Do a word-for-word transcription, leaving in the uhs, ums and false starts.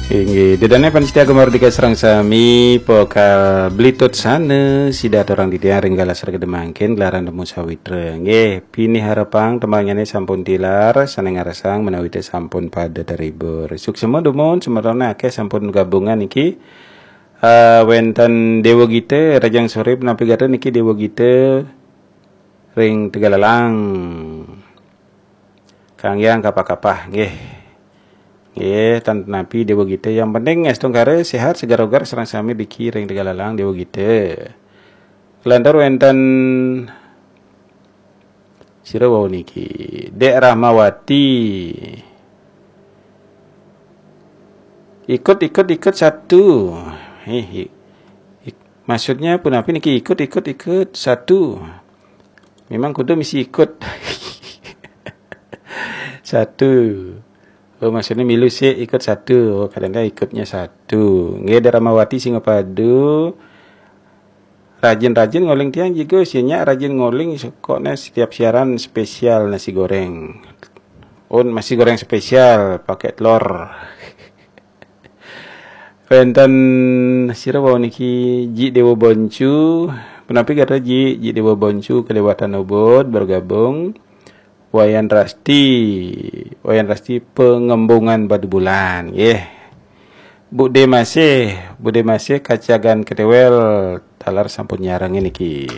Inggih, dedane panitia Gema Merdeka sareng sami, pokal blitut sane sida aturang titiang ring galah sregep mangkin gelaran Temu Sawitra. Nggih, pinih harepang tembangyane sampun tilar, sane ngarsang menawi te sampun pada terhibur. Suksma dumun semetone akeh sampun gabungan niki. Eh, wenten Dewa Gita, Rajang Sore, punapi gatra niki Dewa Gita ring Tegallalang. Kanggiang kapah-kapah, nggih. Nggih, tan napi Dewa Gita. Yang penting astungkara sehat, segar-ogar, sareng sami driki ring Tegallalang Dewa Gita. Lantur wenten sira wau niki, Dek Rahmawati. Ikut, ikut, ikut satu. Eh, i- ik- maksudnya punapi niki, ikut, ikut, ikut satu? Memang kudu misi ikut. Satu. Oh, maksudnya milu sik, ikut satu. Oh, kadang-kadang ikutnya satu. Nggih, Dek Rahmawati Singapadu. Rajin-rajin ngoling tiang juga, sih nyak rajin ngoling, kok ne setiap siaran spesial nasi goreng. Oh, nasi goreng spesial pakai telur. Wenten sira wau niki, Ji Dewa Boncu. Punapi gatra Ji, Ji Dewa Boncu kelewatan ubud bergabung. Wayan Rasti, Wayan Rasti Pengembungan Batu Bulan, nggih. Bude Masih, Bude Masih Kacagan Ketewel, taler sampun nyarengin niki.